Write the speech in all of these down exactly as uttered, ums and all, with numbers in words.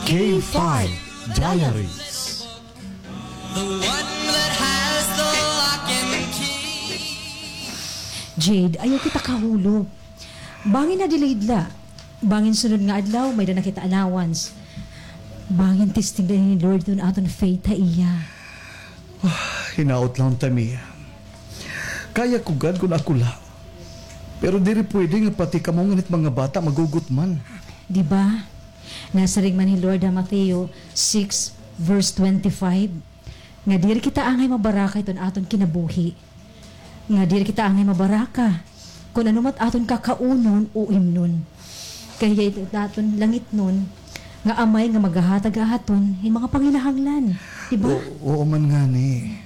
K five Diaries. The one that has the lock and key. Jade, ayaw kita kahulop. Bangin na-delayed la. Bangin sunod nga adlaw, may-ada na kita allowance. Bangin testing la ni Lord iton aton faith ha iya. Hinaot la unta, Mia. Kaya ko gad kon ako la. Pero diri pwede nga pati kamo ngan it mga bata maghugot man. Di ba? Nasiring man hi Lord ha Mateo six verse twenty-five, nga diri kita angay mabaraka hiton aton kinabuhi. Nga diri kita angay mabaraka kon ano man it aton kakaunon o imnon. Kay hiya it aton langitnon nga Amay nga maghahatag ha aton hin mga panginahanglan. Di ba? O-, oo man ngani.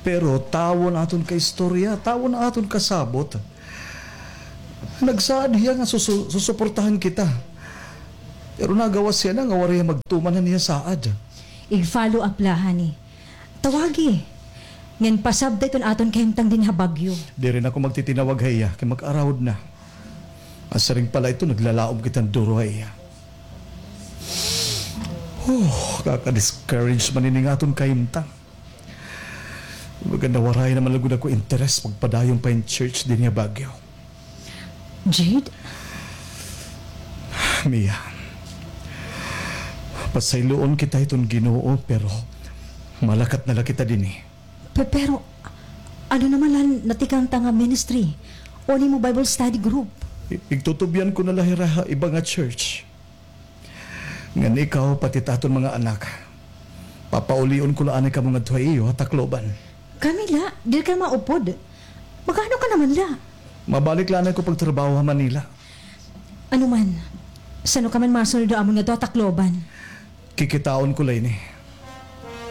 Pero tawo an aton kaistorya, tawo an aton kasabot. Nagsaad hiya nga susu-, susuportahan kita. Pero nagawas hiya na nga waray hiya magtuman han iya saad. Ig-follow up la, honey. Tawagi. Ngan pasabta iton aton kahimtang dinhi ha Baguio. Diri na ako magtitinawag ha iya, kay mag-arahod na. Nasiring pa la ito, naglalaom kita hin duro ha iya. Huh, kaka-discourage man ini nga aton kahimtang. Baga nawaray na man la gud ako interes pagpadayon pa hin church dinhi ha Baguio. Jade? Mia, pasayloon kita hiton Ginoo, pero malakat na la kita dinhi. Pe-, pero, ano naman la an natikang ta nga ministry? O an imo Bible study group? I-, igtutubyan ko na la hira ha iba nga church. Ngan ikaw, pati it aton mga anak, papaulion ko la anay kamo ngadto ha iyo ha Tacloban. Kami la, diri ka maupod. Mag-ano ka naman la? Mabalik la anay ko pagtrabaho ha Manila. Ano man, san-o ka man masunod ha amon ngadto ha Tacloban? Kikitaon ko la ini.